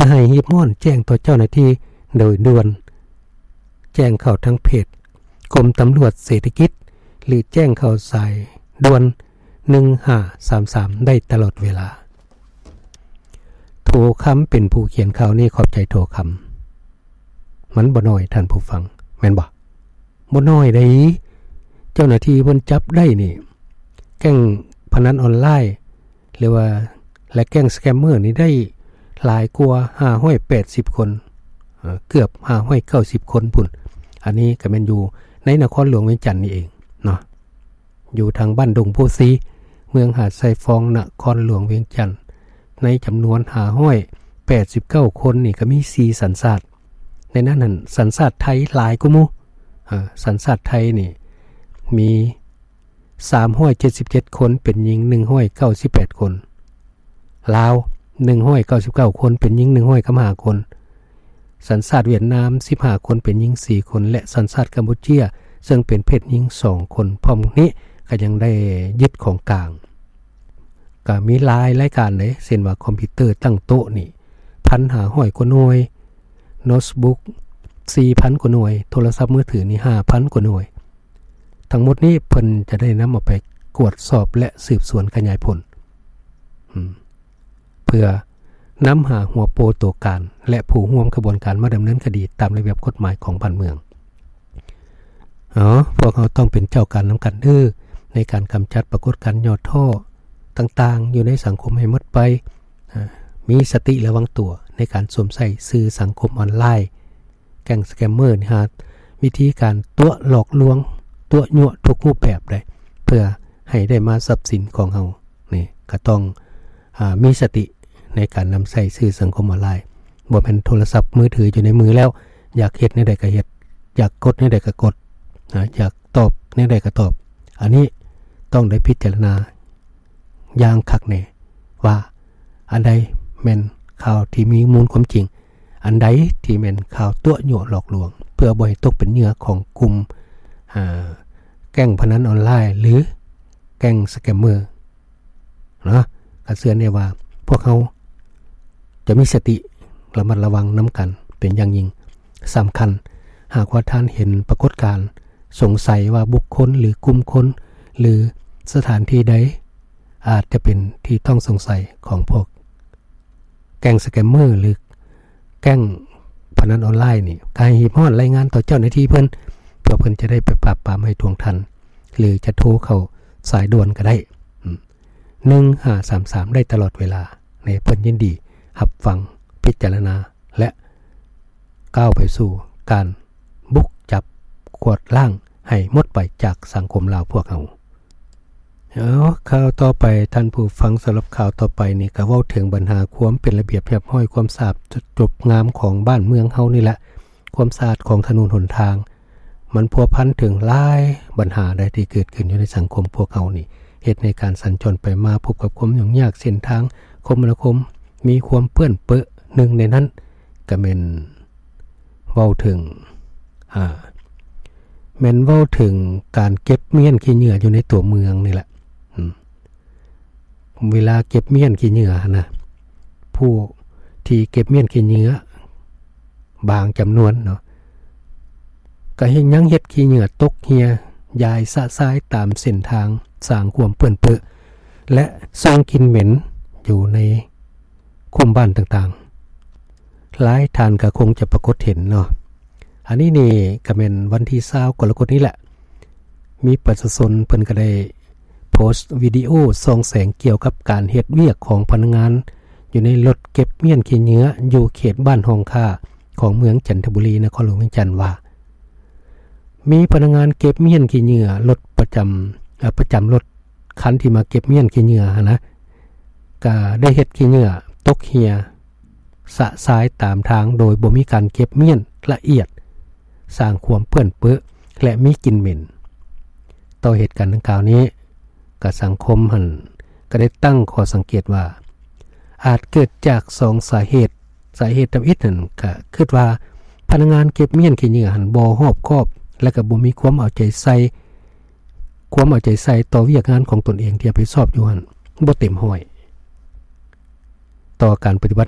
ກໍໃຫ້ຮີບຮ້ອນແຈ້ງຕໍ່ເຈົ້າໜ້າທີ່ໂດຍດ່ວນ, ແຈ້ງເຂົ້າທາງເພຈກົມຕຳຫຼວດເສດຖະກິດ ຫຼື ແຈ້ງເຂົ້າສາຍດ່ວນໜຶ່ງຫ້າສາມສາມໄດ້ຕະຫຼອດເວລາ. ໂທຄຳເປັນຜູ້ຂຽນຂ່າວນີ້, ຂອບໃຈໂທຄຳ. ມັນບໍ່ນ້ອຍ, ທ່ານຜູ້ຟັງ, ແມ່ນບໍ່? ບໍ່ນ້ອຍເດ້. ເຈົ້າໜ້າທີ່ເພິ່ນຈັບໄດ້ນີ້ ແກ້ງພະນັນອອນລາຍ ຫຼືວ່າ ແລະ ແກ້ງສະແກມເມີນີ້ໄດ້ຫຼາຍກວ່າຫ້າຮ້ອຍແປດສິບຄົນ, ເອີ ເກືອບຫ້າຮ້ອຍເກົ້າສິບຄົນພຸ້ນ. ອັນນີ້ກໍແມ່ນຢູ່ໃນນະຄອນຫຼວງວຽງຈັນນີ້ເອງເນາະ, ຢູ່ທາງບ້ານດົງໂພສີ ເມືອງຫາດຊາຍຟອງ ນະຄອນຫຼວງວຽງຈັນ. ໃນຈຳນວນຫ້າຮ້ອຍແປດສິບເກົ້າຄົນນີ້ກໍມີສີ່ສັນຊາດ. ໃນນັ້ນຫັ້ນ ສັນຊາດໄທຫຼາຍກວ່າໝູ່, ເອີ ສັນຊາດໄທນີ້ມີ ສາມຮ້ອຍເຈັດສິບເຈັດຄົນ ເປັນຍິງໜຶ່ງຮ້ອຍເກົ້າສິບແປດຄົນ, ລາວໜຶ່ງຮ້ອຍເກົ້າສິບເກົ້າຄົນ ເປັນຍິງໜຶ່ງຮ້ອຍສິບຫ້າຄົນ, ສັນຊາດຫວຽດນາມສິບຫ້າຄົນ ເປັນຍິງສີ່ຄົນ ແລະ ສັນຊາດກຳປູເຈຍ ເຊິ່ງເປັນເພດຍິງສອງຄົນ. ພ້ອມນີ້ກໍຍັງໄດ້ຍຶດຂອງກາງ ກໍມີຫຼາຍລາຍການເດ້, ເຊັ່ນວ່າຄອມພິວເຕີຕັ້ງໂຕະນີ້ ໜຶ່ງພັນຫ້າຮ້ອຍກວ່າໜ່ວຍ, ໂນ້ດບຸກສີ່ພັນກວ່າໜ່ວຍ, ໂທລະສັບມືຖືນີ້ຫ້າພັນກວ່າໜ່ວຍ. ທັງໝົດນີ້ເພິ່ນຈະໄດ້ນຳເອົາໄປກວດສອບ ແລະ ສືບສວນຂະຫຍາຍຜົນ ເພື່ອນຳຫາຫົວໂປໂຕການ ແລະ ຜູ້ຮ່ວມຂະບວນການມາດຳເນີນຄະດີຕາມລະບຽບກົດໝາຍຂອງບ້ານເມືອງ. ເອົາ, ພວກເຮົາຕ້ອງເປັນເຈົ້າການນຳກັນເດີ້ ໃນການກຳຈັດປາກົດການຫຍໍ້ທໍ້ຕ່າງໆ ຢູ່ໃນສັງຄົມໃຫ້ໝົດໄປ. ເອີ ມີສະຕິລະວັງຕົວໃນການສວມໃຊ້ສື່ສັງຄົມອອນລາຍ. ແກ້ງສະແກມເມີນີ້ຫາວິທີການຕົວະຫຼອກລວງ, ຕົວະຍົວະທຸກຮູບແບບເດ້ ເພື່ອໃຫ້ໄດ້ມາຊັບສິນຂອງເຮົາ. ນີ້ກໍຕ້ອງ ອາ ມີສະຕິໃນການນຳໃຊ້ສື່ສັງຄົມອອນລາຍ. ບໍ່ແມ່ນໂທລະສັບມືຖືຢູ່ໃນມືແລ້ວ ຢາກເຮັດແນວໃດກໍເຮັດ, ຢາກກົດແນວໃດກໍກົດ, ອາ ຢາກຕອບແນວໃດກໍຕອບ. ອັນນີ້ຕ້ອງໄດ້ພິຈາລະນາຢ່າງຄັກແນ່ວ່າ ອັນໃດແມ່ນຂ່າວທີ່ມີມູນຄວາມຈິງ, ອັນໃດທີ່ແມ່ນຂ່າວຕົວະຍົວະຫຼອກລວງ ເພື່ອບໍ່ໃຫ້ຕົກເປັນເຫຍື່ອຂອງກຸ່ມ ອາ ແກ້ງພະນັນອອນລາຍ ຫຼື ແກ້ງສະແກມເມີເນາະ. ກໍເຊື່ອແນ່ວ່າພວກເຮົາຈະມີສະຕິລະມັດລະວັງນຳກັນເປັນຢ່າງຍິ່ງ. ສຳຄັນ, ຫາກວ່າທ່ານເຫັນປາກົດການສົງໄສວ່າບຸກຄົນ ຫຼື ກຸ່ມຄົນ ຫຼື ສະຖານທີ່ໃດ ອາດຈະເປັນທີ່ຕ້ອງສົງໄສຂອງພວກແກ້ງສະແກມເມີ ຫຼື ແກ້ງພະນັນອອນລາຍນີ້, ກໍໃຫ້ຮີບຮ້ອນລາຍງານຕໍ່ເຈົ້າໜ້າທີ່ເພິ່ນ ເພື່ອເພິ່ນຈະໄດ້ໄປປາບປາມໃຫ້ທ່ວງທັນ ຫຼື ຈະໂທເຂົ້າສາຍດ່ວນກໍໄດ້ ອາ ໜຶ່ງຫ້າສາມສາມ ໄດ້ຕະຫຼອດເວລາ. ແລະ ເພິ່ນຍິນດີຮັບຟັງ, ພິຈາລະນາ ແລະ ກ້າວໄປສູ່ການບຸກຈັບກວາດລ້າງໃຫ້ໝົດໄປຈາກສັງຄົມລາວພວກເຮົາ. ເອົາ, ຂ່າວຕໍ່ໄປທ່ານຜູ້ຟັງ, ສຳລັບຂ່າວຕໍ່ໄປນີ້ກໍເວົ້າເຖິງບັນຫາຄວາມເປັນລະບຽບຮຽບຮ້ອຍ, ຄວາມສະອາດຈົບງາມຂອງບ້ານເມືອງເຮົານີ້ແຫຼະ, ຄວາມສະອາດຂອງຖະໜົນຫົນທາງ. ມັນພົວພັນເຖິງຫຼາຍບັນຫາໃດທີ່ເກີດຂຶ້ນຢູ່ໃນສັງຄົມພວກເຮົານີ້, ເຮັດໃຫ້ການສັນຈອນໄປມາພົບກັບຄວາມຫຍຸ້ງຍາກ, ເສັ້ນທາງຄົມມະນາຄົມມີຄວາມເປື້ອນເປິ. ໜຶ່ງໃນນັ້ນກໍແມ່ນເວົ້າເຖິງ ອາ ແມ່ນເວົ້າເຖິງການເກັບມ້ຽນຂີ້ເຫຍື້ອຢູ່ໃນຕົວເມືອງນີ້ແຫຼະ. ອືມ ເວລາເກັບມ້ຽນຂີ້ເຫຍື້ອຫັ້ນນະ, ຜູ້ທີ່ເກັບມ້ຽນຂີ້ເຫຍື້ອບາງຈຳນວນເນາະ ກໍເຮັດ ຍັງເຮັດຂີ້ເຫຍື້ອຕົກເຮ່ຍຢາຍຊະຊາຍຕາມເສັ້ນທາງ, ສ້າງຄວາມເປື້ອນເປິ ແລະ ສົ່ງກິ່ນເໝັນຢູ່ໃນຄຸ້ມບ້ານຕ່າງໆ. ຫຼາຍທ່ານກໍຄົງຈະປາກົດເຫັນເນາະ. ອັນນີ້ນີ້ກໍແມ່ນວັນທີຊາວກໍລະກົດນີ້ແຫຼະ, ມີປະຊາຊົນເພິ່ນກໍໄດ້ໂພສວິດີໂອສ່ອງແສງກ່ຽວກັບການເຮັດວຽກຂອງພະນັກງານຢູ່ໃນລົດເກັບມ້ຽນຂີ້ເຫຍື້ອຢູ່ເຂດບ້ານຮ່ອງຄ້າຂອງເມືອງຈັນທະບູລີ ນະຄອນຫຼວງວຽງຈັນວ່າ ມີພະນັກງານເກັບມ້ຽນຂີ້ເຫຍື້ອລົດປະຈຳ ເອີ ປະຈຳລົດຄັນທີ່ມາເກັບມ້ຽນຂີ້ເຫຍື້ອຫັ້ນນະ ກະໄດ້ເຮັດຂີ້ເຫຍື້ອຕົກເຮ່ຍຊະຊາຍຕາມທາງໂດຍບໍ່ມີການເກັບມ້ຽນລະອຽດ, ສ້າງຄວາມເປື້ອນເປິ ແລະ ມີກິ່ນເໝັນ. ຕໍ່ເຫດການດັ່ງກ່າວນີ້, ກະສັງຄົມຫັ້ນກະໄດ້ຕັ້ງຂໍ້ສັງເກດວ່າ ອາດເກີດຈາກສອງສາເຫດ. ສາເຫດທຳອິດຫັ້ນກະຄິດວ່າ ພະນັກງານເກັບມ້ຽນຂີ້ເຫຍື້ອຫັ້ນບໍ່ຮອບຄອບ ແລະ ກະບໍ່ມີຄວາມເອົາໃຈໃສ່ ຄວາມເອົາໃຈໃສ່ຕໍ່ວຽກງານຂອງຕົນເອງທີ່ຮັບຜິດຊອບຢູ່ຫັ້ນບໍ່ເຕັມຮ້ອຍ ຕໍ່ການປະຕິບັດໜ້